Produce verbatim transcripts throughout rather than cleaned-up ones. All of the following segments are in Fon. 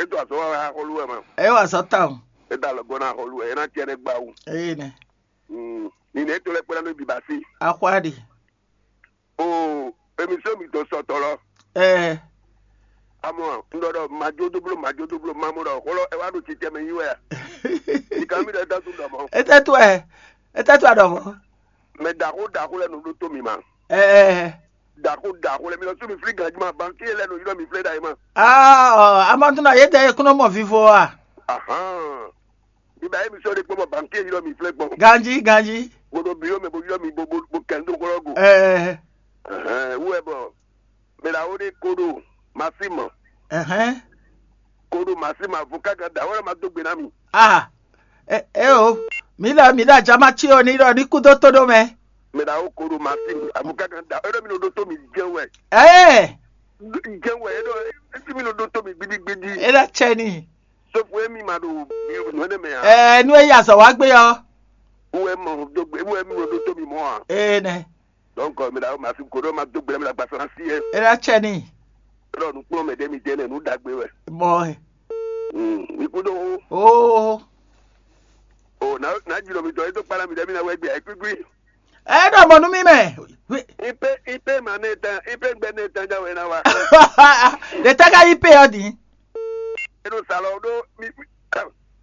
É to azɔ̌ wa wɛ axɔ́lú wɛ ma. É wa azɔ̌ tawun. É da alɔgɔ́ ná axɔ́lú wɛ, é ná tiɛ nɛ́ gbá wú. Eye nɛ. Mm, Nǐnɛ é to lɛ́ kpé ná nú bǐ ba sí. Axwa ɖe. O, émission mi dó sɔtɔ lɔ. Ɛɛ. Amɔ, un ɖɔ ɖɔ majódóbló majódóbló mamɔ ɖɔ xɔlɔ ɛ wá ɖo titɛ mɛ yí wɛ a? Ìka mi ɖɔ é dá tún ɖɔ mɔ. Etɛ tu ɛ. Etɛ tu aɖɔ mɔ. Mɛ ɖaxó ɖaxó lɛ nɔ ɖó tó mi ma. Ɛɛ. Ɖaxó ɖaxó lɛ mi lɔ sú mi flí ganjí ma, banki lɛ nɔ ylɔ mi flé ɖa yi ma. Ah, ɔ, amatuna yé tɛ kúnɔ mɔ vivo a? Ahan. Mi ba émission ɖé kpɔ́n bɔ banki ylɔ mi flé gbɔn. Ganjí, ganjí. Bo ɖo biro mɛ bo ylɔ mi bo bo bo kɛn dó xlɔ́ go. Ɛɛ. Ɛhɛn, wú wɛ bɔ mɛ ɖaxó ɖé koɖo masí mɔ. Ɛhɛn. Koɖo masí mɔ avocat gán ɖaxó lɛ ma dó gbe ná mi. Ah, ɛ ɛ o, mi ɖɔ mi ɖɔ ajama cí o ní ɖɔ ní kú dó tó ɖó mɛ. Mɛ ɖaxó koɖo masí mɔ avocat gán ɖaxó lɛ mi nɔ ɖó tó mi jɛn wɛ. Ɛɛ. Jɛn wɛ é ɖɔ é sí mi nɔ ɖó tó mi gbidigbidi. É ɖɔ cɛ ni. Sɔfo émi ma ɖo nǔ énɛ́ mɛ ǎ. Ɛɛ, nú é yi azɔ̌ wá gbé ɔ́. Wú wɛ mɔ dó gbe wú wɛ mɔ ɖó tó mi mɔ ǎ. Ee nɛ. Donc mi ɖaxó ma fi koɖó ma dó gbe mi ɖagba sɔ́ ná sí ɛ. É ná cɛ n'i. Ɖɔ nǔkplɔ́nmɛ ɖé mi jɛ nɛ nǔ ɖagbe wɛ. Mɔ ɛ. Mm, mi kú dó xó. Oo. O na na jlɔ mi tɔ é dó kpala mi ɖɛ mi na wɛ gbé ayikúgbí. Ɛ ɖɔ mɔ nú mi mɛ. Ipe ipe ma ne tán ipe gbɛ ne tán jáwé ná wa. Ɖe tɛ ka yi pe ɔ din. Enu salɔ ɖo mi.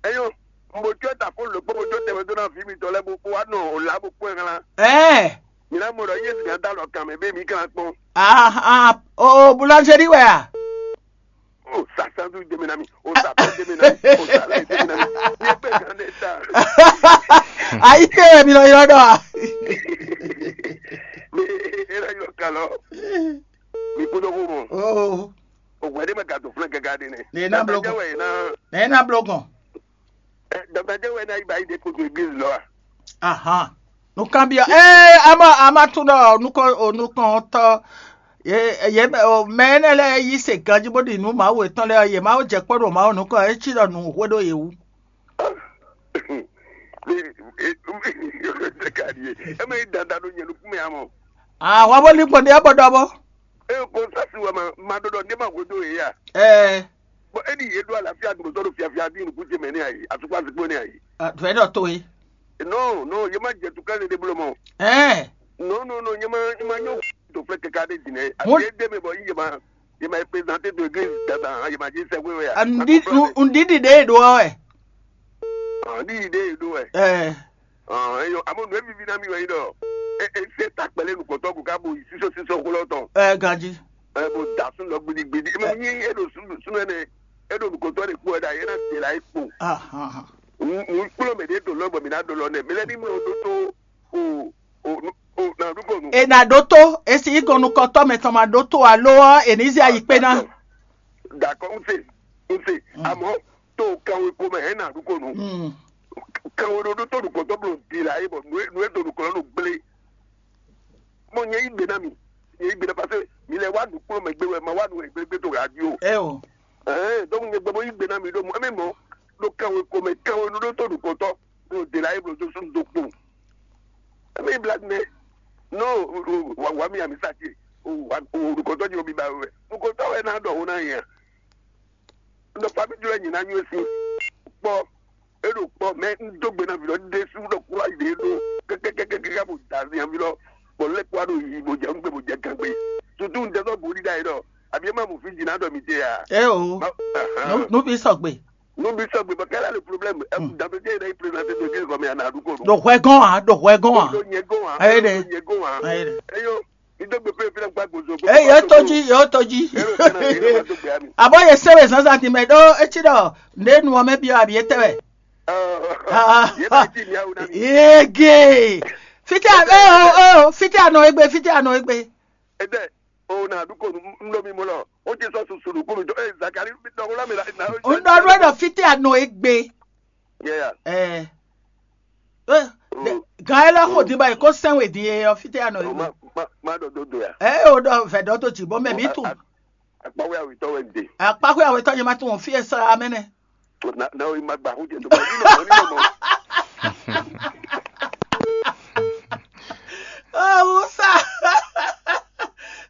Eyo, mo tso ta ko lo kpɔ mo tso tɛmɛ dó na vi mi tɔ lɛ bo kpó wa nɔ o la bo kpó ɛ hlan. Ɛɛ. Mi na mo ɖɔ yé mi da lɔ kan mɛ be mi kan kpɔn. Ah ah, o boulangerie wɛ a? O sa sandu de mi na mi, o sa pɛ de mi na mi, o sa lɛ de mi na mi. Ye pe kan de ta. Ayi ke wɛ mi lɔ yɔ dɔ a? Mi e la yɔ kalɔ. Mi kúndó kó mɔ. Oo. O wɛ de ma ka to flɛ kɛkɛ de ne. Ne na blo kɔn. Ne na blo kɔn. Dɔkita jɛ wɛ na yi ba yi de koto église lɔ a? Ahan. Nukɔn byɔ. Ee, ama ama tún ɖɔ nukɔn o nukɔn tɔ. Ye ye o mɛ énɛ́ lɛ́ɛ yí se ganjí bó ɖi nǔ Mawu yětɔn lɛ́ɛ, yě má jɛ kpɔ́ ɖo Mawu nukɔn, é cí ɖɔ nǔ hwe ɖó yě wú. Eme yi dandan ɖo nyɛ nukún mɛ amɔ. Ahwa bó lín gbɔn ɖe ɔ́ bɔ ɖɔ bɔ. Eye ko sasi wɛ ma ma ɖɔ ɖɔ ne ma hwe dó yě ya. Ɛɛ. Bɔn e ɖi yě ɖó alafia gbɔdɔ ɖo fiafia bí nukún ce mɛ ne ayi, atukpa zikpó ne ayi. Vɛ ɖɔ to ye. Non non, ye ma jɛ tukla ne ɖe bló mɔ. Ɛɛ. Non non non, ye ma ye ma nyɔ to fɛ kɛkɛ ɖe dzi nɛ. Mo- Asi ye de mɛ bɔ ye ma ye ma présenter to église dada, ye ma dzi sɛ wéwé ya. Ŋdi ŋdi ɖe ɖo ɔ wɛ. Ŋdi ɖe ɖo wɛ. Ɛɛ. Ɔn, eyɔ, amɔ nǔ e vivi ná mi wɛ nyí ɖɔ e e se ta kpɛlɛ nukɔntɔ ko ká bo yi sísɔ sísɔ xó lɔ tɔn. Ɛ ganjí. Ɛ bo da sun lɔ gbidigbidi. Eme nyi e ɖo sun sun ɛnɛ, e ɖo nukɔntɔ ɖe kpo ɛɖa, e na de la e kpo. Ahan. Nu nu kplɔ mɛ ɖe to lɔ bɔ mi na ɖo lɔ nɛ. Mi lɛ ni mlɔ ɖo to o o o na ɖu kɔ nu. E na ɖo to esi yi gɔn nukɔntɔ mɛ tɔn ma ɖo to alo ɔ e ni zɛ ayi kpe na. Dakɔ n se n se amɔ to kanwe ko mɛ e na ɖu kɔ nu. Kanwe ɖo ɖo to ɖo gbɔtɔ blo di la ye bɔ nu e nu e do ɖo kɔlɔ ɖo gble. Mo nyɛ yi gbe na mi, nyɛ yi gbe na parce que mi lɛ wa nu kplɔ mɛ gbe wɛ ma wa nu wɛ gble gbe to radio. Ɛ o. Ɛɛ donc nyɛ gbɛ mo yi gbe na mi ɖo mo ɛmɛ mɔ ɖo kanwe ko mɛ kanwe ɖo ɖo to ɖo gbɔtɔ blo di la ye blo to sun do kpo. Ɛmɛ yi blague mɛ. Non, wa wa mi ami sa ti. O wa o ɖo gbɔtɔ ji o mi ba wɛ. Ɖo gbɔtɔ wɛ na ɖɔ o na yɛ. Ɖɔ fami jlɔ nyi na nyuɛ si kpɔ. Eɖo kpɔ mɛ n dó gbe na vi lɔ ɖe su ɖɔ kura yi ɖe ɖo kɛkɛkɛkɛkɛ bo da zian vi lɔ bɔ lɛ kpɔ aɖo yi bo jɛ nugbe bo jɛ gangbe. Tutu n dɛsɔ bo ɖi da yi ɖɔ abi ema mo fi dzi na ɖɔ mi te ya. Ɛ o. Nu nu bi sɔgbe. Nu bi sɔgbe bɔ kɛlɛ le problème. Ɛ dantɔ jɛ yi na yi présenter to jɛ gɔmɛ ana du ko do. Ɖo hwɛ gɔn a ɖo hwɛ gɔn a. Ɖo nyɛ gɔn a. Ayi ɖe. Ɖo nyɛ gɔn a. Ayi ɖe. Eyo. Eye yóò tɔjí yóò tɔjí. Abɔ ye sɛbɛ zanzan ti mɛ ɖó etsi ɖɔ nde nu ɔmɛ bi abi etɛ wɛ. Yege fiti a o o fiti anɔ egbe fiti anɔ egbe. Ede o na du ko n lɔ mi mo lɔ o ti sɔ susu du ko mi dɔ e zakari mi dɔ ko la mi la. N dɔ ɖɔ fiti anɔ egbe. Yɛya. Ɛɛ. Gan e lɔ xo din ba yi ko sɛn we din e ɔ fite anɔ yi. Ma ma ma ɖɔ dodo ya. Ɛ o ɖɔ vɛ ɖɔ to dzi bɔ mɛ mi tun. Akpaxwe awitɔ wɛ n de. Akpaxwe awitɔ yi ma tun fi e sa amɛ nɛ. Na na o ma gba xo jɛ to ma ni nɔ ni nɔ. Oh, ça.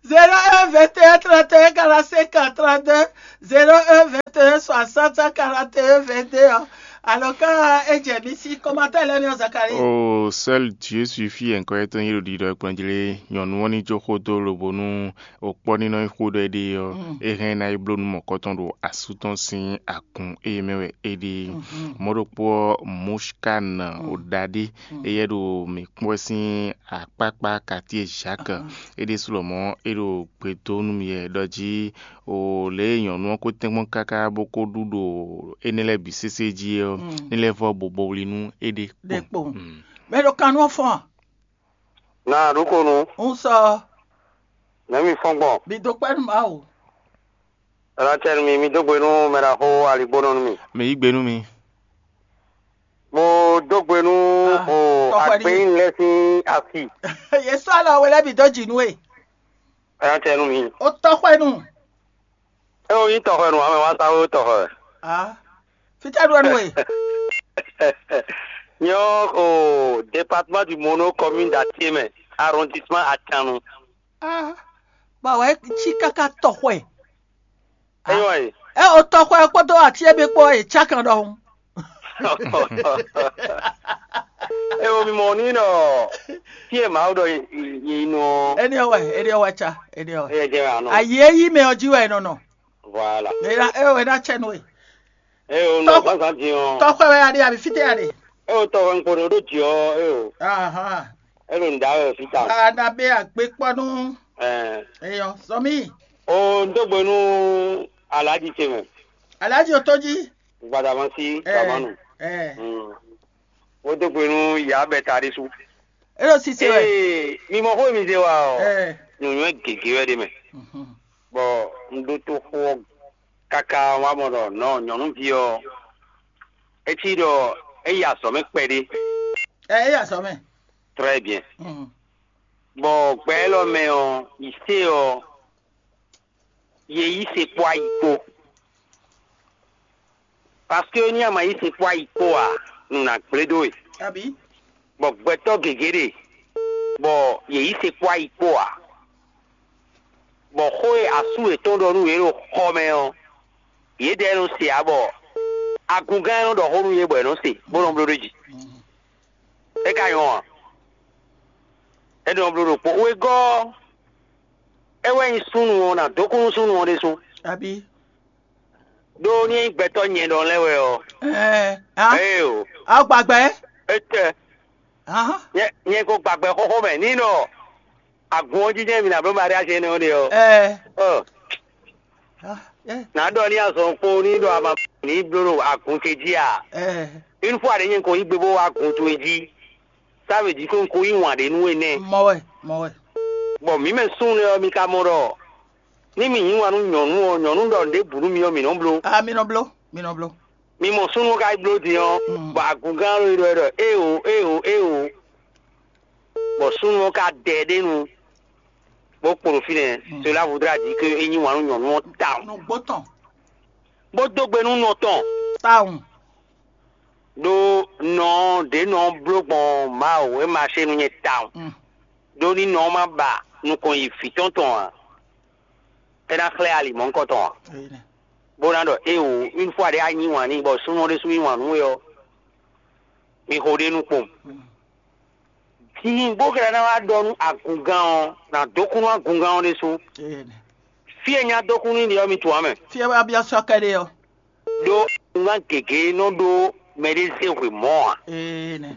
Zéro un, vingt et un, trente et un, quarante-cinq, trente-deux. Zéro un vingt et un soixante quarante et un vingt et un. Alors, quand Edjemi si commentaire, là, Zakari. Oh, seul Dieu suffit, encore étant il dit de Kpɛnjlé, nyɔnu ɔ́ ní jó xó dó lobo nú òkpɔ́ ní nɔ nyí xó ɖɔ éɖée ɔ́, é hɛn ná yi bló nú mɔ̌kɔtɔn ɖo asú tɔn sín akun ée mɛ wɛ é ɖe. Mɔ̌ ɖokpó ɔ́, Mushkan Odadé, éyɛ́ ɖo mǐ kpɔ́n sín akpákpá quartier Jacques. É ɖésú lɔmɔ̌ é ɖo gbe dó nú mì wɛ ɖɔ jí o lě e nyɔ̌nu ɔ́ ko tɛ́nkpɔ́n káká bó ko ɖu ɖo énɛ́ lɛ́ɛ bǐ sésé jí é ɔ́, ní lɛ́ vɔ́ bo bo wlí nú éɖée. Ɖe kpowun. Mɛ ɖo kan nú ɔ́ fɔ́n a? Na ɖokonu. Un sɔ. Nɛ̌ mi fɔ́n gbɔn? Mi dó kpɛ́ nú Mawu. Ɛlɔtɛnu mi, mi dó gbe nú mɛɖaxó aligbónɔ nú mi. Mǐ yí gbe nú mi. Mo dó gbe nú Ah, o tɔxɛ ɖíe. Agbɛnyínú lɛ́ɛ sín asi. Yě sɔ́ alɔ we lɛ́ɛ bǐ dó jǐ nú we. Ɛlɔtɛnu mi. O tɔxwɛnu. É o nyí tɔxwɛnu ǎ mɛ wá sá wé tɔxwɛ. Ah, fítɛ́ ɖu wɛ nú we. Nyɔ́ o département du Mono, commune d'Atié mɛ, arrondissement Atanu. Ah, ba wɛ cí káká tɔxwɛ. É nyɔ́ ɛ. Ɛ o tɔxwɛ kpódó atíyɛ́ kpó ɔ́, è cá kan ɖɔhun. É o mi mɔ ní nɔ tí e Mawu ɖɔ yi nɔ. Éní ɔ́ wɛ, éní ɔ́ wɛ cá, éní ɔ́ wɛ. É jẹ́ àná. Ayǐ e yí mɛ ɔ́ jí wɛ è nɔ nɔ. Voilà. É ná é wɛ ná cɛ nú we. É o nɔ gbazan dín ɔ́. Tɔxwɛ wɛ a ɖe abi fítɛ́ a ɖe. É o tɔxwɛ ŋkpɔ́n ɖó jǐ ɔ́, é o. Ahan. É ɖo nǔɖá wɛ fí ta. A na bɛ agbe kpɔ nú. Ɛɛ. Eyɔ, sɔmi. O n dó gbe nú Alhaji ce mɛ. Alhaji o tó jí. Gbadama sí Ɛ, Gamanu. Ɛ. Mm. Wo dó gbe nú Yabɛ Tarisu. E ɖo sise wɛ. Ee, mi mɔ xó e mi zé wa ɔ. Ɛ. Nyɔnyɔ gěgé wɛ ɖe mɛ. Mhm. Bɔ un ɖó tó xó ɔ́ káká wá mɔ ɖɔ nɔ nyɔ̌nuví ɔ́, é cí ɖɔ é yi azɔ̌ mɛ kpɛɖé. Ɛ, é yi azɔ̌ mɛ. Très bien. Mhm. Bɔ gbɛ élɔ́ mɛ ɔ́, yi sé ɔ́, yě yí se kpó ayi kpó. Parce que ní a ma yí se kpó ayi kpó ǎ, nǔ ná gblé dó we. Abǐ? Bɔ gbɛtɔ́ gěgé ɖe, bɔ yě yí se kpó ayi kpó ǎ. Bɔ xó e asú yětɔn ɖɔ nú yě ɖo xɔ mɛ ɔ́, yědɛɛ nɔ se ǎ, bɔ agungán e nɔ ɖɔ xó nú yě bɔ è nɔ se, bó nɔ bló ɖó jí. É ka nyɔ́ ǎ. É nɔ bló ɖokpó. Wegɔ́ ɔ́, é wɛ nyí súnnu ɔ́, ná dó kú nú súnnu ɔ́ ɖésú. Abǐ? Ɖó ní é nyí gbɛtɔ́ nyɛ ɖɔ lɛ́ɛ wɛ ɔ́, Ɛɛ, a, ee o, a gbagbɛ? Étɛ́? Ahán. Nyɛ nyɛ ko gbagbɛ xóxó mɛ ní nɔ agun ɔ́ jínjɛ́n mi ná bló Maria jɛnɛ ɔ́ ɖe ɔ́. Ɛɛ. Ɔ, Ah, ɛ, nǎ ɖɔ ní azɔn kpó ní ɖɔ ama ní bló ɖo agun ce jí a? Ɛ, Une fois ɖě nyɛ ko yí gbe bó wá agun towe jí, ça veut dire que un ko yí wǎn ɖé nú we nɛ́. Mɔ wɛ, mɔ wɛ. Bɔ mǐ mɛ súnnu lɛ́ɛ ɔ́, mi ka mɔ ɖɔ ní mǐ yí wǎn nú nyɔ̌nu ɔ́, nyɔ̌nu ɖɔ nǔɖé bǔ nú mi ɔ́, mǐ nɔ bló. Ah, mi nɔ bló, mi nɔ bló. Mi mɔ súnnu ɔ́ ka yi bló din ɔ́, Mm. bɔ agungán ɔ́ ɖɔ é ɖɔ éeǒ, éeǒ, éeǒ. Bɔ súnnu ɔ́ ka dɛ ɖé nu, bó kpo ɖo fínɛ́. Mm. Cela voudra dire que é yí wǎn nú nyɔ̌nu ɔ́ tawun. Nǔgbó tɔn. Bó dó gbe nú nɔ tɔn. Tawun. Ɖó nɔ ɔ́ ɖě nɔ ɔ́ bló gbɔn Mawu e ma se nú nyɛ tawun. Mm. Ɖó ní nɔ ɔ́ ma ba nukɔn yi vǐ tɔn tɔn ǎ, é ná xlɛ́ ali mɔ̌hunkɔtɔn ǎ. Bó ná ɖɔ éeǒ, une fois ɖě a yí wǎn n'i bɔ súnnu ɔ́ ɖésú yí wǎn nú we ɔ́, mi xo ɖ'é nu kpowun. Din bó ka ná wá ɖɔ nú agungán ɔ́, nǎ dó kú nú agungán ɔ́ ɖésú. Fí e nyá dó kú nú ɖe ɔ́, mi tunwun ǎ mɛ. Fí e wá byɔ́ sɔ́ kɛ́ɖé ɔ́. Ɖó agungán gěgé nɔ ɖó mɛɖé zé hwe mɔ̌ ǎ.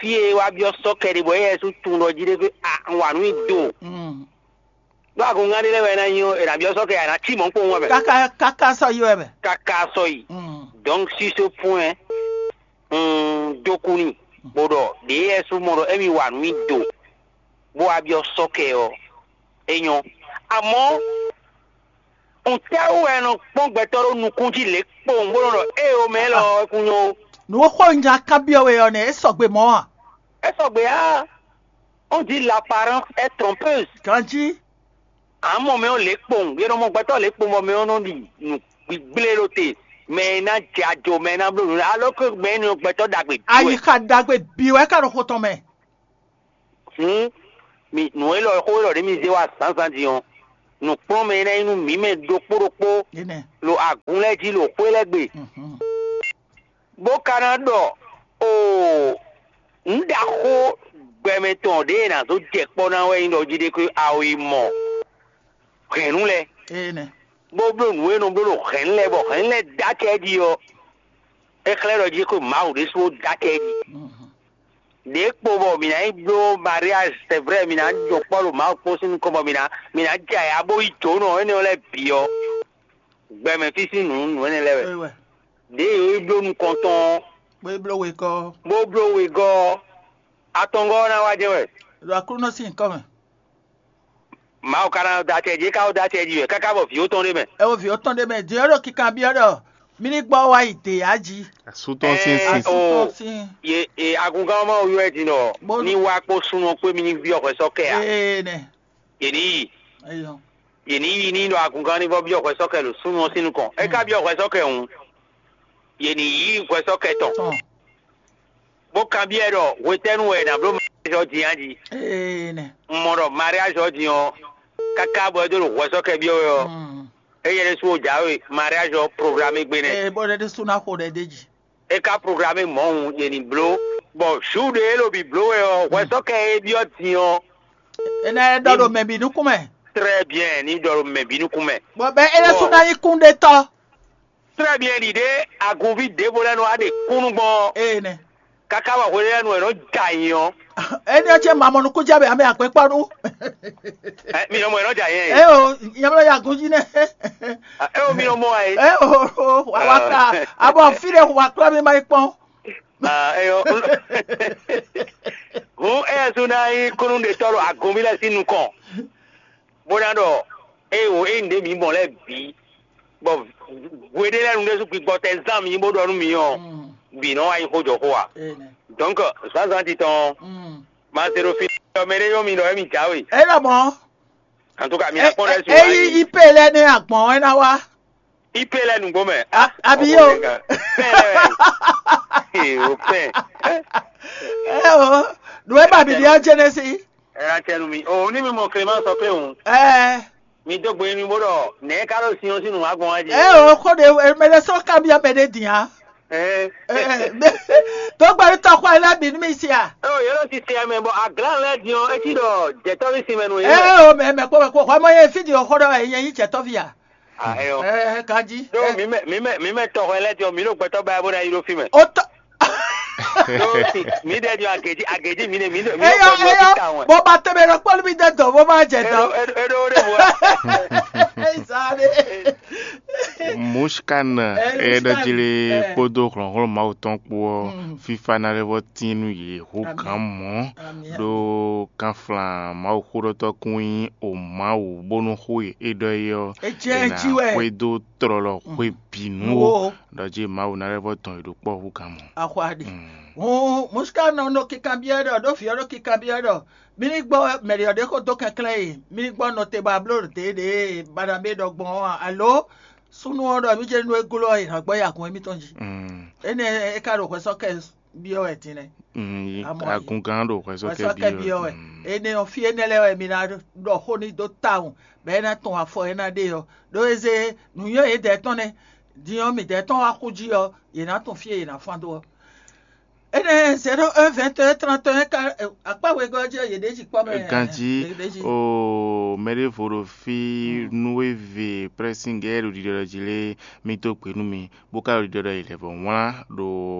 Fí e wá byɔ́ sɔ́ kɛ́ɖé bɔ éyɛ́ sú tunwun ɖɔ jí ɖé fí a un wa nǔ nyi do. Ɖó agungán ɖé lɛ́ɛ wɛ é ná nyí ɔ́, è nǎ byɔ́ sɔ́ kɛ a nǎ cí mɔ̌ kpowun wɛ mɛ. Káká káká sɔ́ yi wɛ mɛ. Káká sɔ́ yi. Donc sur ce point, un dó kú n'i, bó ɖɔ ɖěe wɛ sú mɔ ɖɔ émí wa nǔ nyi do, bó wá byɔ́ sɔ́ kɛ ɔ́, é nyɔ́. Amɔ̌, ntɛ́wú wɛ è nɔ kpɔ́n gbɛtɔ́ ɖó nukún jí lě kpowun bó nɔ ɖɔ éeǒ mɛ élɔ́ ɔ́ kún nyɔ́ ó? Nǔ e xó un nya kanbyɔ́ we ɔ́ nɛ́, é sɔgbe mɔ̌ a? É sɔgbe ǎ. On dit l'apparence est trompeuse. Ganjí. Amɔ mɛ ɔ́ lě kpowun, yě nɔ mɔ gbɛtɔ́ lě kpowun bɔ mɛ ɔ́ nɔ ɖi nǔ gbígblé ɖó te, mɛ e ná jɛ ajo, mɛ e ná bló nǔ, alors que mɛ énɛ́ ɔ́ gbɛtɔ́ ɖagbe bǐ wɛ. Ayixa ɖagbe bǐ wɛ ka ɖo xo tɔn mɛ. Hǔn, mi nǔ élɔ́ xó élɔ́ ɖě mi zé wá zǎnzǎn din ɔ́, nǔkplɔ́nmɛ e ná nyí nú mǐ mɛ ɖokpó ɖokpó ɖo agun lɛ́ɛ jí ɖo xwé lɛ́ɛ gbe, bó ka ná ɖɔ o nǔ ɖaxó gbɛmɛ tɔn ɖě e nǎ zó jɛ kpɔ́ ná wɛ nyí ɖɔ jí ɖé xwé awo yi mɔ hɛ̌nnu lɛ́ɛ, bó bló nǔ e nɔ bló ɖo hɛ̌nnu lɛ́ɛ bɔ hɛ̌nnu lɛ́ɛ dó acɛ jí ɔ́, é xlɛ́ ɖɔ jí xwé Mawu ɖésú dó acɛ jí. Ɖě kpo bɔ mǐ ná yi bló mariage, c'est vrai, mǐ ná jɔ kpɔ́ ɖo Mawu kpó sín nukɔn bɔ mǐ ná mǐ ná jɛ ayǎ bó yi jǒnɔ énɛ́ lɛ́ɛ bǐ ɔ́, gbɛmɛ fí sín nǔ nǔ énɛ́ lɛ́ɛ wɛ. Ɖěe yǒ yi bló nukɔn tɔn ɔ́, Bó yi bló wegɔ́ ɔ́. Bó bló wegɔ́ ɔ́, atɔngɔ́ ɔ́ ná wá jɛ́n wɛ. Ɖo Aklúnɔ sín nyǐkɔ mɛ. Mawu ka ná da acɛ jí, é ka wó da acɛ jí wɛ káká bɔ vǐ ótɔn ɖé mɛ. Ɛ wo vǐ ótɔn ɖé mɛ, din ɔ́ ɖo kikanbyɔ́ ɖɔ mí ní gbɔ wá yi dě yá jí. Asú tɔn sín Ɛɛ, sin. Asú tɔn o, sín. Ye e agungán ɔ́ ma wo yɔ ɛ din ɖɔ Bó- ní wá kpó súnnu ɔ́ kpé mí ní byɔ́ hwɛ sɔ́ kɛ ǎ. Ee nɛ. Yě ní yi. Eyɔ. Yě ní yi ní ɖɔ agungán ní vɔ byɔ́ hwɛ sɔ́ kɛ ɖo súnnu ɔ́ sín nukɔn. É ka byɔ́ hwɛ sɔ́ kɛ hǔn, yě ní yí hwɛ sɔ́ kɛ tɔn. Tɔn. Bó kanbyɔ́ ɛ ɖɔ hwetɛ́nu wɛ è nǎ bló mariage ɔ́ din a jí? Ee nɛ. Un mɔ ɖɔ mariage ɔ́ din ɔ́, káká bɔ é dó ɖo hwɛsɔ́kɛ byɔ́ wɛ ɔ́, Mm. éyɛ́ ɖésú wó jǎwe mariage ɔ́ programmé gbé nɛ́. Ee, bó ɖé ɖésú ná xo ɖɛ d'é jí. É ka programmé mɔ̌hun yě ní bló, bɔ jour ɖé é ɖo bǐ bló wɛ ɔ́, hwɛsɔ́kɛ e byɔ́ din ɔ́, É ná ɖɔ ɖo mɛ bǐ nukún mɛ. Très bien, ní ɖɔ ɖo mɛ bǐ nukún mɛ. Bɔ bɛ́ é ɖésú Bɔ- ná nyí kúnɖétɔ́. Très bien, ɖiɖe agunví ɖěvo lɛ́ɛ nɔ wá ɖe kúnnu gbɔn ɔ́, Ee nɛ. Káká wɔ hwe lɛ́ɛ nu wɛ nɔ ja nyi ɔ́. Éní ɔ́ ce ma mɔ nukúnjɛ bɛ ame akpɛkpɔ́ nú. Ɛ, mi nɔ mɔ ɛ nɔ ja yɛn. Ɛ o, nyamlɔ ya gun jí nɛ. Ɛ o, mi nɔ mɔ ɛ. Ɛ o, o, wa wa ka. Abɔ fi ɖe wa kplɔ mi ma yi kpɔn. Ah, ɛ o. Hun ɛ su na yi kunu de tɔlo agunvi lɛ si nukɔn. Bó ná ɖɔ eye wò eye nǔɖé mǐ mɔ lɛ́ɛ bǐ, bɔ hweɖé lɛ́ɛ nu ɖésú gbigbɔ tɛ zán mǐ bó ɖɔ nú mǐ ɔ́, bǐ nɔ wá nyí xó jɔ xó ǎ. Donc zǎnzǎn titɔn ɔ́, ma se ɖo fi ɔ́ mɛ ɖé nyɔ́ mi ɖɔ émí jǎwe. É ɖɔ mɔ̌. En tout cas, mi ná kpɔ́n ɖɛ́ su. É yí ipe lɛ́ɛ nɛ́ agbɔ̌n é ná wá. Ipe lɛ́ɛ nǔgbó mɛ. Abi yó. Pɛn lɛ́ɛ wɛ. Ee, o pɛn. Ɛ o, nǔ e ba bǐ ɖe ɔ́ Jɛnɛsi. Ɛ atɛnu mi. O ní mi mɔ Clément sɔ pé hùn. Ɛ. Mi dó gbe mi bó ɖɔ nɛ̌ ká ɖo sin ɔ́ sín nǔ wá gbɔn wá jí. Ɛ o, xó ɖe mɛ ɖé sɔ́ kábíyá mɛ ɖé din á. Ɛ. Tó gbɛɖú tɔxɔ ɛ lɛ́ɛ bǐ nú mi si a? Ɛ o, yě ɖo sisi ɛ mɛ bɔ aglán lɛ́ɛ din ɔ́, é cí ɖɔ jɛ̌tɔ́ví sin mɛ nú yě. Ɛ o, mɛ mɛ kpó mɛ kpó xɔ mɔ yé fí din xɔ ɖɔ wɛ nyɛ nyí jɛ̌tɔ́ví a? Ah, ɛ o. Ɛ ɛ, ganjí. Ɖó mi mɛ mi mɛ mi mɛ tɔxɔ ɛ lɛ́ɛ din ɔ́, mi ɖo gbɛtɔ́ ba ɛ bó ná yi ɖó fí mɛ. Ó tɔ. Ɖó mi ɖɛ din agějí agějí mi ɖe mi ɖe mi ɖo Eyɔ gbɛtɔ́ eyɔ fí tawun. Bó ba tɛmɛ ɖɔ kpɔ́lú mi dɛ dɔn bó má jɛ Eɖo dɔn. eɖo eɖo ɖe vo. Ezale. Mushkan Ɛ, e ɖɔ Mushkan, jí lé ɛ. Kpódó hlɔ̌nhlɔ́n Mawu tɔn kpó ɔ́, Mm. fífá ná lɛ́ vɔ tín nú yě hú Amǐn. Gǎn mɔ̌, Amǐn, ɖó amǐn. Kánflán Mawuxóɖɔtɔ́ kún nyí o Mawu bónú xó e é ɖɔ é ɔ́, É jɛ é ná jí wɛ. Xwedó tlɔlɔ xwé bǐ nú Wo. Ó, ɖɔ jí Mawu ná lɛ́ vɔ dɔn yě ɖó kpɔ́ hú gǎn mɔ̌. Axwaɖi. Mm. Hǔn Mushkan nɔ nɔ kikanbyɔ́ ɖɔ ɖó vǐ ɔ́ ɖo kikanbyɔ́ ɖɔ mí ní gbɔ mɛɖi ɔ́ ɖé xó dó kɛnklɛ́n e mí ní gbɔ nɔ te ba bló ɖě ɖě Baɖabé ɖɔ gbɔn ɔ́ a? Alo súnnu ɔ́ ɖɔ mí jɛ nú é gló ɔ́, è nǎ gbɔ yi agun émítɔn jí. Mm. Énɛ́ é ka ɖo hwɛsɔ́kɛ byɔ́ wɛ din nɛ́. Mm, Amɔ̌ é. Agungán ɖo hwɛsɔ́kɛ Hwɛsɔ́kɛ byɔ́ byɔ́ wɛ. Mm. Énɛ́ ɔ́, fí énɛ́ lɛ́ɛ wɛ mi ná ɖɔ xó ní dó tawun, bɔ é ná tɔn afɔ é ná ɖe ɔ́. Ɖó é zé nǔnywɛ́ yědɛɛ tɔn nɛ́, din ɔ́ midɛɛ tɔn wá xú jí ɔ́, yě ná tunwun fí e yě ná fán dó ɔ́. Énɛ́ zéro un vingt et un trente et un ka akpá wegɔ́ jí ɔ́, yě ɖe jí kpɔ́ mɛ. Ganjí yě ɖe jí. O mɛ ɖěvo ɖo fí nú é ve prɛ́síngɛ ɖo ɖiɖɔ jí lé, mì dó gbe nú mi, bó ka ɖo ɖiɖɔ ɖɔ è lɛ̌ vɔ̌ wlán ɖo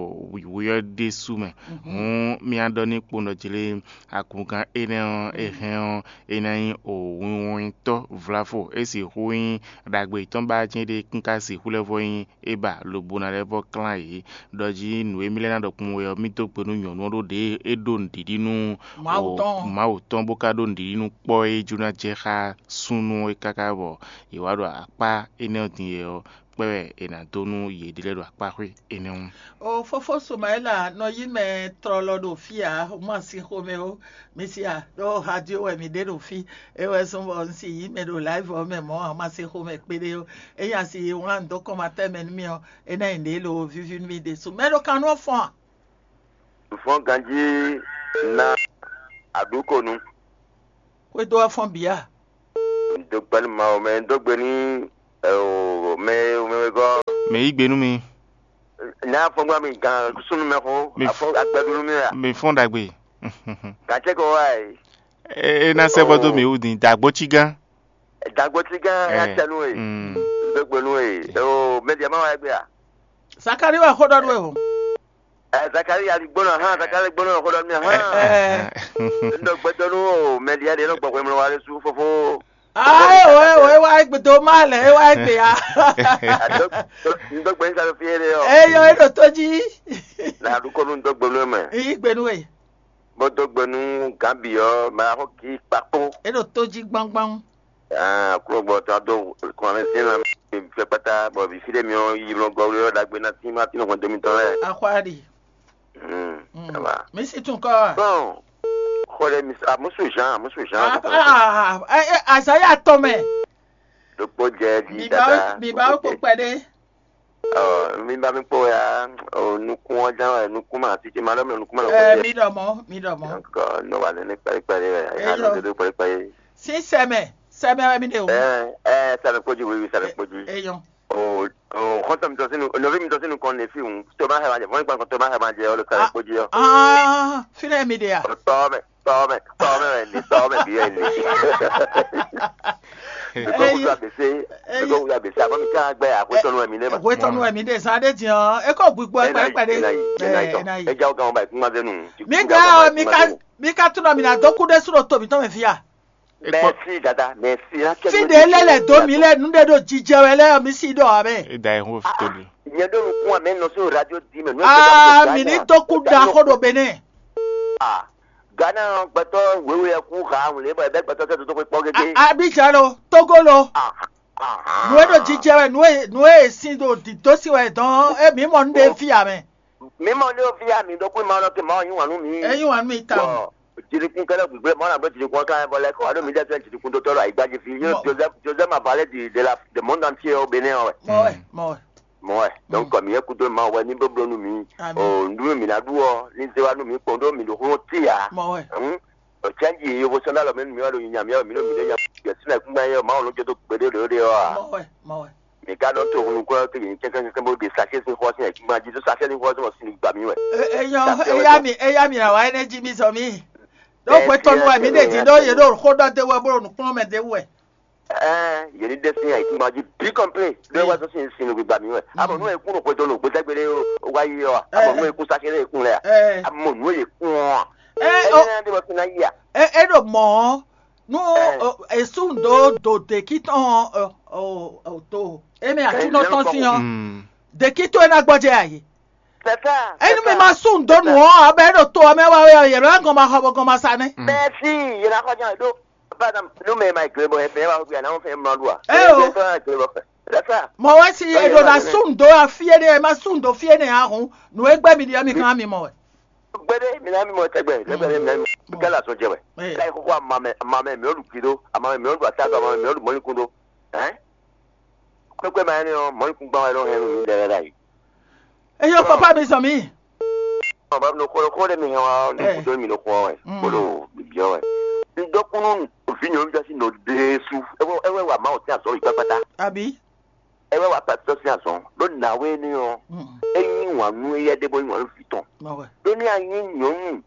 wǐwú ɔ́ ɖésú mɛ. Hǔn mì wá ɖɔ n'i kpowun ɖɔ jí lé, akungán énɛ́ ɔ́, é hɛn ɔ́, é ná nyí o winwɔntɔ́ vláfo, é sixú nyí ɖagbe yětɔn ba jɛ́n ɖé kún ka sixú lɛ́ vɔ́ nyí é ba lobo ná lɛ́ vɔ́ klán yě. Ɖɔ jí nǔ e mì lɛ́ ná ɖɔ kpowun wɛ ɔ́, mì dó gbe nú nyɔ̌nu ɔ́ ɖó ɖě é ɖó nǔɖiɖi nú Mawu o tɔn. Mawu tɔn, bó ka ɖó nǔɖiɖi nú kpɔ́ e jló ná jɛ xá súnnu é káká bɔ yě wá ɖo akpá énɛ́ ɔ́ din yɛ ɔ́, kpɛ́ wɛ è nǎ dó nú yěɖée lɛ́ɛ ɖo akpáxwé énɛ́ ɔ́. O fófó Sumayɛ́la nɔ yí mɛ tlɔlɔ ɖo fí ǎ, má sín xomɛ ó. Mi si a ɖó radio wɛ mi ɖe ɖo fí. É wɛ zɔ́n bɔ un si yí mɛ ɖo live ɔ́ mɛ mɔ̌ ǎ, má sín xomɛ kpéɖé ó. É nya si wlán dó kɔn ma tɛ́ mɛ nú mi ɔ́, é ná nyi ɖě lo víví nú mi ɖésú. Mɛ ɖo kan nú ɔ́ fɔ́n a? Vɔn ganjí ná àdúkò nu. Xwedó ɔ́ fɔ́n bǐ a? Do gbe nú Mawu mɛ, do gbe nú mɛ mɛ wegɔ́. Mɛ yí gbe nú mi. Ní afɔgbá mi gan súnú mɛ xó, afɔ agbɛdúnú mi a? Mi fɔ́n ɖagbe. Gàtɛ kɔ wá yi. É ná sɛ́ bɔ dó mi wú din dàgbó cí gán. Dàgbó cí gán ya tɛ nú e. Do gbe nú e. O mɛ diɛ ma wá gbé a? Zakari wɛ xó ɖɔ nú e o. Ɛ Zakari ali gbóná hã, Zakari gbóná xó ɖɔ nú mi hã. Ɛ. Ndɔ gbɛdɔ nú o mɛ diɛ ɖe nɔ gbɔ hwemlɔ wa ɖe sú fofo. Ah, é wɔ é wɔ é wá gbe dó má lɛ é wá gbe ya. Ndɔ gbɛ nígbà tó fi é ɖe ɔ. Eyɔ é ɖo tó jí. Na ɖu kɔnu ndɔ gbɛ nú ɛ mɛ. Yí gbe nú e. Bó dó gbe nú Gǎnbi ɔ́, mɛ axɔ́ kí kpakpó. É ɖo tó jí gbánggbáng. Ah, kúrò gbɔ tó a dó kɔn mɛ sín na fɛ kpata bɔ vǐ fí ɖé mi ɔ́ yi lɔ gɔwlé ɔ́ ɖagbe ná tín má tín hɔn dó mitɔn lɛ. Axwáɖi. Hmm, ça va. Mi si tún kɔ. Bon, xɔ ɖe mi sa musu Jean, musu Jean. Azaya tɔn mɛ. Ɖokpó jɛ di dada. Mi ba kpó kpɛɖé. Ɔ mi ba mi kpó ya, o nukún ɔ́ ján wɛ nukún ma títí ma ɖɔ mi nukún ma lɔ kó jɛ. Mi ɖɔ mɔ, mi ɖɔ mɔ. Donc nɔ wa nɛnɛ kpɛɖé kpɛɖé wɛ, ya nɔ dodo kpɛɖé kpɛɖé. Sí sɛmɛ, sɛmɛ wɛ mi ɖe o. Ɛ ɛ sɛmɛ kpódzi wiwi sɛmɛ kpódzi. Eyɔn. O o xɔntɔn mi tɔ sínú nɔví mi tɔ sínú kɔn ne fi hùn tó má hɛ ma jɛ fɔnn kpán kɔn tó má hɛ ma jɛ ɔlọ sɛmɛ kpódzi ɔ. Ah, fínɛ mi ɖe a? Tɔ mɛ tɔ mɛ tɔ mɛ wɛ ni tɔ mɛ bi wɛ ni. Mɛ kɔ wúlò abèsè mɛ kɔ wúlò abèsè àbọ̀ mi ká gbẹ àhwẹ́tọ́nu wɛ mi lé ma. Hwetɔnu wɛ mi ɖe zan ɖe diɛ ɔ, e kɔ gbigbo ɛ kpɛɖé kpɛɖé. Ɛ ɛ na yi. E ja wo gan wo ba yi kúngbazɛnu. Mi ga ɔ mi ka mi ka tunɔ mi na dó kú ɖé sú ɖo to mǐtɔn mɛ fia. Merci dada, merci. Fi ɖe lɛ lɛ dó mi lɛ nu ɖe ɖo jijɛ wɛ lɛ mi si ɖɔ abɛ. E da ɛ hó fi to ɖi. Nyɛ ɖo nukún amɛ nɔ sínú radio di mɛ. Aa mi ní tó kú da xó ɖo Benin. Ah, Ghana gbɛtɔ wěwé ɛ kú ha wlé bɔ ɛ bɛ gbɛtɔ tɛ tó kpɔ gégé. Abidjan lo, Togo lo. Ah, ah, Nu e ɖo jijɛ wɛ, nu e nu e sin ɖo dǐdó sin wɛ dɔn e mǐ mɔ nu ɖe fí amɛ. Mi mɔ ne o fi ya mi ɖokpó ma lɔ ke ma yín wǎn nú mi. E yín wǎn nú mi ta. Bɔ jinukun kɛlɛ gbigblé ma na bɔ jinukun kan bɔ lɛ kɔ alo mi dɛ fɛn jinukun dotɔ lɔ ayigba ji fi yín Joseph Joseph ma balẹ̀ di de la de monde entier au Bénin wɛ. Mɔ wɛ, mɔ wɛ. Mɔ wɛ. Donc kɔ mi yɛ kudo ma wɛ ni blo blo nú mi. O ndu mi na ɖu ɔ ni ze wa nú mi kpɔn ɖo mi ɖo xlɔn ti ya. Mɔ wɛ. Ɔ cɛnji yovo sɔn ɖo alɔ mɛ nú mi wɛ ɖo nyinya mi wɛ mi ɖo mi ɖo nya yɛ sinɛ kúngbɛ yɛ ma wɔ ló jɛ dó gbeɖé ɖo ɖe ɔ a. Mɔ wɛ, mɔ wɛ. Mi ka ɖɔ to nukún ɔ́ kele nyí kɛ́kɛ́kɛ́ bó ɖe Sakɛ́ sín xɔ sín ayǐkúngban jí, ɖó Sakɛ́ sín xɔ sín mɔ sín gba mì wɛ. Eyɔn eya mi eya mi na wa ɛnɛ jí mi zɔ mi. Ɖó hwetɔnu wɛ mi ɖe din ɖó yě ɖo xó ɖɔ de wɛ bó ɖo nǔkplɔ́n mɛ de wɛ. Ɛɛ yě ní ɖe sín ayǐkúngban jí bí kɔnplé ɖó é wá zɔ́n sín sin nǔgbígba mì wɛ. Amɔ nú e kún ɖo hwetɔnu gbéjɛgbé ɖé wá yí ɔ́, amɔ nú e kún Sakɛ́ ɖé e kún lɛ a? Amɔ nú e kún ɔ́, ɛ ɛ ɛ ɛ ɖé wɛ kún ná yí a? Ɛ ɛ ɖo mɔ̌ nú èsú ndo do dèkí tɔn to émí àtúnɔ tɔn sín ɔ́, dèkí tó é ná gbɔjɛ àyè. Enu mi ma sú ndo nù ɔ́ abɛ ɖo to ɔ́ mɛ wá wɛ yě lɔ gɔn ma xɔ bɔ gɔn ma sa nɛ. Mɛsi yě ná xɔ jàn ɖó. Nú mɛ ma gbe bɔ ɛ fɛ wá wíwá náà fẹ́ mlɔ ɖu a? Ɛ o. Fẹ́ gbe bɔ fẹ́. Mɔ wɛ si eɖo na sú ndo afi énɛ́ ɛ ma sú ndo fi énɛ́ ahun nù e gbɛ mi ɖi ɔ́ mi kan mi mɔ wɛ. Gbede mi na mi mɔ tɛgbɛ lẹgbẹ mi na mi kala sɔn jɛ wɛ. Ka yi koko ama mɛ ama mɛ mi olu gido ama mɛ mi olu atado ama mɛ mi olu mɔni kundo. Ɛn kpɛkpɛ ma ɛnɛ ɔ mɔni kun gban wɛ nɔ hɛn nu mi lɛ lɛ yi. Eyɔ papa mi sɔ mi. Ɔ ba no kolo kolo mi hɛn wa no kudo mi no kɔ wɛ kolo bibiɔ wɛ. N dɔkunu vi nyɔnu jasi no desu. Ewe ewe wa ma o ti azɔ yi kpakpata. Abi. Ɛ wɛ wa pɛtɛ sín azɔn ɖó nǎwe énɛ́ ɔ́, é yí wǎn nú éyɛ́ ɖé bó yí wǎn nú vǐ tɔn. Ɖó ní a nyí nyɔ̌nu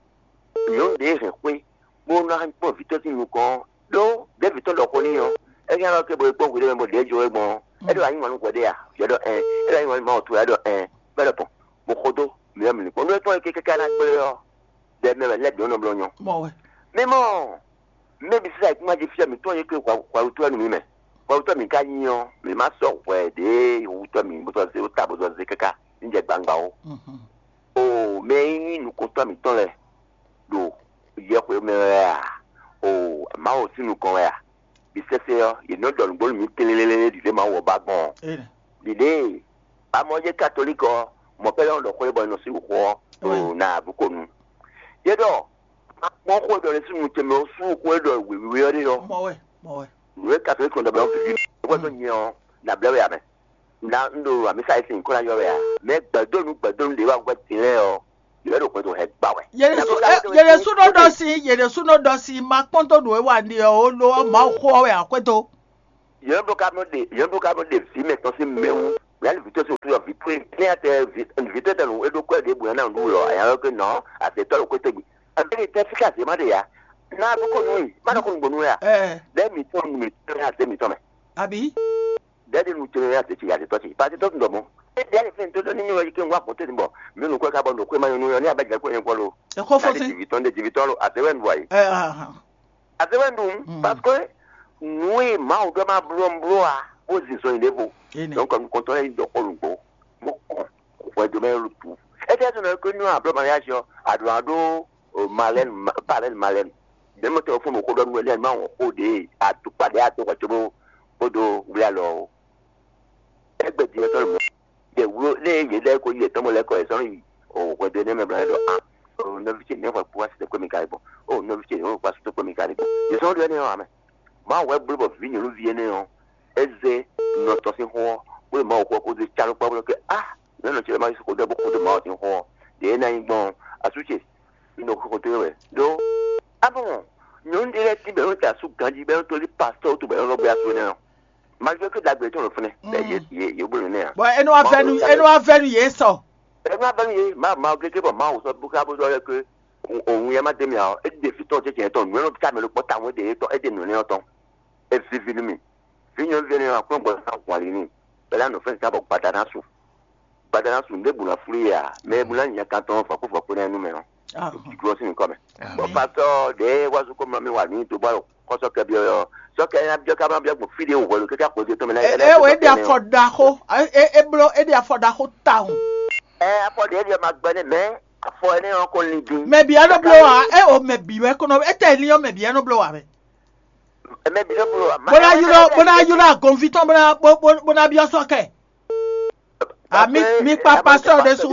nyɔ̌nu ɖě hɛn xwé bó ná kpɔ́n vǐ tɔn sín nukɔn ɔ́, ɖó ɖěvǐ tɔn ɖɔ xó n'i ɔ́, é hɛn ɔ́ ké bo yi kpɔ́n hwiɖée mɛ bó ɖěe jó é gbɔn ɔ́, é ɖo a nyí wǎn nú hwɛ ɖé a? Vǐ ɔ́ ɖɔ ɛn, é ɖo a nyí wǎn nú Mawu towe a ɖɔ ɛn, bó ɖɔ gbɔn, bó xo dó mǐ wɛ mǐ ní kpɔ́n nú é tɔn e kéké ká ná gblé ɔ́, ɖɛ mɛ wɛ lɛ́ bǐ nɔ bló nyɔ́. Mɔ wɛ. Mɛ mɔ Mɛ bǐ sísá yěkúngban jí fí ɔ́, mǐ tunwun nyí kpé hwɛhutɔ́ nú mǐ mɛ. Hwɛhutɔ́ mǐ ka nyí ɔ́, mǐ ma sɔ́ hwɛ ɖě hutɔ́ mǐ bó sɔ́ zé ta bó sɔ́ zé káká ní jɛ gbangba ó. Oo, mɛ e nyí nukɔntɔ́ mǐtɔn lɛ́ɛ ɖo yɛhweɖó mɛ wɛ a? Oo, Mawu sín nukɔn wɛ a? Bǐ sɛ́sɛ́ ɔ́, yě nɔ ɖɔ nǔgbó nú mǐ tlélélé ɖi lě Mawu ɔ́ ba gbɔn ɔ́. Ɖiɖée, amɔ̌ yě katolík ɔ́, mɔ̌ pɛ́ lɛ́ nɔ ɖɔ xó e bɔ è nɔ sín xó ɔ́ ɖo nǎ bǔ ko nu. Yě ɖɔ ma kpɔ́n xó e ɖɔ ɖésú nu ce mɛ ɔ́ sú xó e ɖɔ wěwé ɔ́ ɖe ɔ́. Mɔ wɛ, mɔ wɛ. Nǔ e katolík nɔ ɖɔ bɔ é wɛ ɖo nyɛ ɔ́, nǎ blɛ́ wɛ ǎ mɛ. Ná un ɖo amǐsa e sin kó ná yɔ wɛ ǎ. Mɛ gbɛdónú gbɛdónú ɖě wá hwɛ din lɛ́ɛ ɔ́, yě wɛ ɖo xwedó hɛ gbá wɛ. Yě ɖésú nɔ ɖɔ sí, yě ɖésú nɔ ɖɔ sí, ma kpɔ́n dó nǔ e wa ɖi ɔ́ ó lo ɔ́, Mawu xó ɔ́ wɛ ǎ xwedó. Yɔn blo ka nɔ ɖe yɔn blo ka nɔ ɖe vǐ mɛtɔn sín mɛ wú. Yali vǐ tó sín wútu yɔ vǐ tó e klɛ́n atɛ vǐ tó tɛ nǔ e ɖó kɔ́ ɖěbǔ ná ɖu lɔ anya ɔ́ ké nɔ azɛtɔ́ ɖo kótó gbe. Abéle tɛ fíkà zě má ɖe ya. Ná kókó nú i má ɖɔ kó nugbo nú ya. Ɛ Ɖɛ́ mǐtɔn nu mǐtɔn ní azé mǐtɔn mɛ. Abi. Ɖɛ́ ɖi nu tɛnmɛ ní azé ce azɛtɔ́ ce pàṣẹ tó tún dɔ mɔ. Ɛ ɖɛ́ lè fɛn tó ɖɔ ní mi wɛ yi ké ń wá kó tɛ́ bɔ mí nu kó ká bɔ nǔ kó ma nyɔ nú yɔ ní abɛ jɛ kó nyɛ kpɔ́ lo. Ɛ kó fɔ Ná ɖi sí. Jìvítɔ́ ɖe jìvítɔ́ lo azé wɛ nu vɔ yi. Ɛ ahan. Azé wɛ nu Mm. Parce que nǔ e Mawu ɖɔ ma bló bló a bó zinzɔn yi ɖěvo. Ene. Donc nukɔntɔn lɛ́ɛ yi dɔ xó nǔgbó bó kɔn hwɛndo mɛ lo tu. Étɛ́ tó nɔ ko nú ablɔ mariage ɔ́, aɖǒ aɖó malɛn palɛn malɛn. Ɖé mɔ tɛ fún mi xó ɖɔ nú ɛnɛ ma wɔn xó ɖe atukpa ɖe ato xɔ tso bó bó do wlé alɔ o. Égbé din ɔ́ tɔ́ lɔ mɔ. Ɖe wló lé yě lɛ́ɛ ko yi yětɔn mɔ lɛ́ kɔ yě sɔ́ yi o hwɛndo énɛ́ mɛ bló ɖɔ a o nɔví ce nɛ́ hwɛ kpó wá sí tɛ́ kpé mi ka yi gbɔn o nɔví ce nɛ́ hwɛ kpó wá sí tɛ́ kpé mi ka yi gbɔn. Yě sɔ́ ɖɔ énɛ́ ɔ́ amɛ. Mawu wɛ bló bɔ vǐ nyɔ̌nuví énɛ́ ɔ́, é zé nɔ tɔn sín xó ɔ́, bó ɖo Mawu xó ɔ́ kpódó é cá nú kpɔ́ bó ɖɔ ké á, nɛ̌ nɔ ce lɛ́ɛ ma yí xó ɖɔ bó xó dó Mawu sín xó ɔ́, ɖě é ná nyí gbɔn ɔ́, asú ce, un ɖo xó xótó we wɛ. Ɖó á mɔ nyɔ̌nu ɖé lɛ́ɛ tín bɔ é nɔ da asú ganjí bɔ é nɔ tlí pastɔ́ wútu bɔ é nɔ lɔ́ gbé asú énɛ́ ɔ́, malgré que ɖagbe tɔn ɖo fínɛ́, bɔ yě yě yě bló nɛ́ ǎ. Bɔ é nɔ wá vɛ́ nú é nɔ wá vɛ́ nú yě sɔ. É nɔ wá vɛ́ nú yě, Mawu Mawu gégé bɔ Mawu sɔ́ bó ká bó sɔ́ lɛ́ ké òun yɛ má dé mì ǎ ɔ́, é ɖe vǐ tɔn jɛjɛ tɔn nǔ e nɔ ká mɛ ɖokpɔ́ tawun é ɖe yětɔn é ɖe nǔ énɛ́ ɔ́ tɔn. É víví nú mì. Vǐ nyɔ̌nu énɛ́ ɔ́, Aklúnɔ gbɔ ná hwàn ali n'i, bɔ é ná nɔ fɛ́n zán bɔ gbada ná su. Gbada ná su, nǔɖé bǔ ná flú yě ǎ, mɛ e bú ná nya kan tɔn vɔ̌kúvɔ̌kú énɛ́ nú mɛ ɔ́, ɖo jijlɔ́ sín nyǐkɔ mɛ. Bɔ pastɔ́ ɖě wá sú kó mlɔ́ mì wá nǔ nyi dó bɔ xɔ́sɔ́ kɛ byɔ́ ɔ́, sɔ́ kɛ nya byɔ́ ká má byɔ́ gbɔn fí ɖé wǔ hwɛ̌ ɖo kɛ́kɛ́ axɔ́ tɔn mɛ ná ɛ ɛ wɔ é ɖe afɔ ɖaxó é é bló é ɖe afɔ ɖaxó tawun. Ɛ afɔ ɖě ɖě ma gbɛ́ nɛ́ mɛ afɔ énɛ́ ɔ́ ko lin dín. Mɛ bǐ wɛ nɔ bló wa é o mɛ bǐ wɛ kó nɔ étɛ lin ɔ́ mɛ bǐ wɛ nɔ bló wa mɛ. Mɛ bǐ nɔ bló wa. Bó ná ylɔ́ bó ná ylɔ́ agɔnví tɔn bó ná bó bó bó ná byɔ́ sɔ́ kɛ. A mi mi kpa pastɔ́ ɖésú.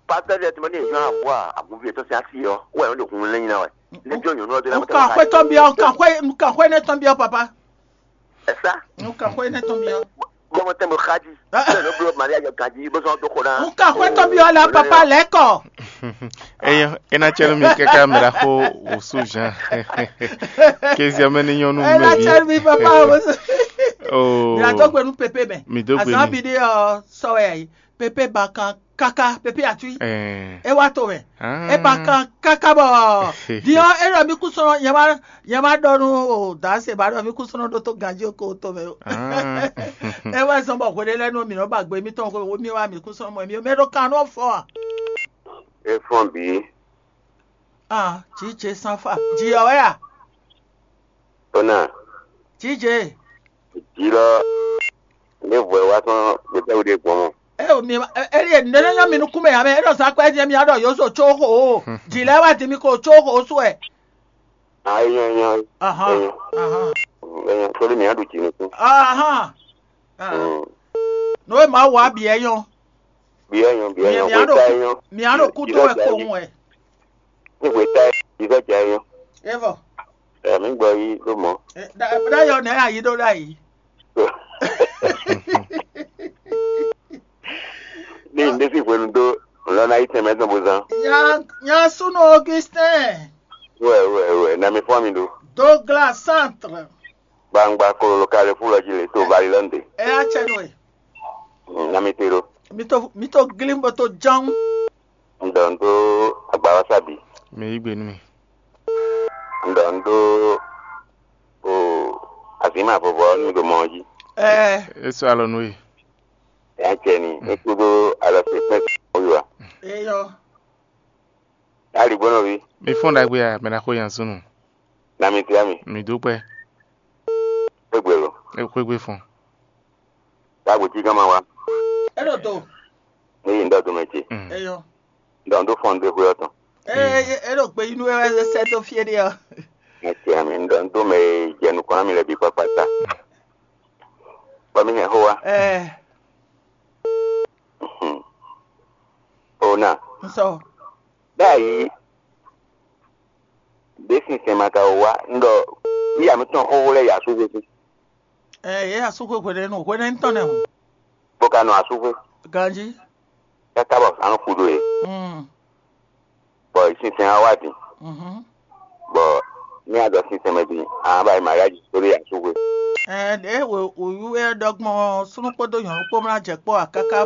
Pastɔ́ ɖé tɔmɔ ní ìyá àbúrò àgùnfin ètò sí àti yọ wọ́n ẹ̀ ń lè kun lẹ́yìn náà wẹ̀. Ní bí òyìnbó ọdún náà Nkan xwé tɔn byɔ́ nkan xwé nkan xwé nɛ tɔn byɔ́ papa. Ẹ sá. Nkan xwé nɛ tɔn byɔ́. Bọ́mọ tẹ́ mo xájí. Bẹ́ẹ̀ ló bló Maria yọ ganjí bó sọ tó kó ná. Nkan xwé tɔn byɔ́ la papa lɛ́kɔ. Eyan ena cɛlu mi kaka mla xo wòsu Jean. Kézia mɛ ni nyɔnu Ena mɛ bi. Cɛlu mi papa wòsu. Oh. Mi atɔ gbenu pepe mɛ. Mi dó gbe Azan mi. Bi de ɔ sɔwɛ ayi. Pepe ba kan kaka pepe atui. Eh. E wa to mɛ. Ah. E ba kan kaka bɔ diɔ e ɖɔ mi kú sɔnɔ nyɛ ma nyɛ ma ɖɔ nu o danse ba ɖɔ mi kú sɔnɔ ɖo to ganji o ko to mɛ o. Ah. E wa zɔn bɔ hwele lɛ nu mi nɔ ba gbe mi tɔn ko mi wa mi kú sɔnɔ mɔ mi o mɛ ɖo kan nɔ fɔ a. E fɔn bi. Ah, jije sanfa ji ɔ wɛ a. Ona. Jije. Jilɔ. Ne vɔ wa sɔn gbɛtɛwo ɖe gbɔn mɔ. E o mi e e ne ne nyɔ mi nukun mɛ ya mɛ e ɖɔ sa kpɛ jɛ mi aɖɔ yozo tso xo o ji lɛ wa di mi ko tso xo o suɛ. A e nyɔ e nyɔ. Ahan ahan. E nyɔ sori mi aɖu ji nukun. Ahan. Ah. Mm. No e ma wa bi e nyɔ. Bi e nyɔ bi e nyɔ Mi ko aɖo ta e nyɔ. Mi aɖo kudo wɛ ko ŋu wɛ. Ní wěta yìí sɔ́ jɛ yó. Evɔ. Ẹ̀mí gbɔ yí ló mọ̀. Dayɔ nɛ ayi ɖo ɖayi. Ní ìdésí hwenu dó lọ́nà yìí tẹ̀mẹ́ tán bó zán. Nya nya súnú Augustin. Wẹ̀ wẹ̀ wẹ̀ nà mi fún mi ɖó. Douglas Centre. Gbangba kololo kalɛ fún lɔ jí lè tó Valilande. Ɛ yá tsɛ nú ɛ. Nà mi te ɖó. Mi tó mi tó glim bó tó ján. Un ɖɔ un ɖó agbawasabi. Mi yí gbe nú mi. Un ɖɔ un ɖó o azǐma vɔvɔ ɔ́ nú mi ɖo mɔ ɔ́ jí. Ɛ É sɔ́ alɔ nú we. Ɛ jɛ ni é kúdó alɔ se kpɛ́n oyó a. Eyɔ. Ali gbɔnɔ vi. Mi fɔ́n ɖagbe a mɛ ná xo yan súnnu. Na mi tia mi. Mi dúpẹ́. Égbè lo. É xwégbé fɔ́n. Ɖagbe tí gán ma wa. É ɖo do. Ní yí ń dɔ dome ce. Mm. Eyɔ. Dɔn ɖó fɔn ɖé xwé ɔtɔn. Eye é ɖo gbe yí nú wɛ sɛ dó fie ɖé ɔ. Ɛ tia mi ń dɔ ń dó mɛ e jɛ nukɔn ná mi lɛ bǐ kpákpá ta. Bɔ mi hɛn xó wa. Ɛ Mhm. O na. Nsɔ. Báyìí, ɖě sinsɛn ma ka wá ń ɖɔ bí àmì tɔn xóxó lɛ́ɛ yi asúxwé sín. Ɛ yě asúxwé hwenɛ́nu hwenɛ́nu tɔn nɛ hǔn. Bó ka nɔ asúxwé. Ganjí. Káká bɔ a nɔ xu ɖó e. Mm. Bɔ sinsɛn á wá din. Mhm. Bɔ ní a ɖɔ sinsɛn mɛ din, a nǎ ba yi mariáji sórí asúxwé. Ɛɛ, ɖěe wǒyú é ɖɔ gbɔn ɔ́, súnnu kpódó nyɔ̌nu kpó mlá jɛ kpɔ́ ǎ káká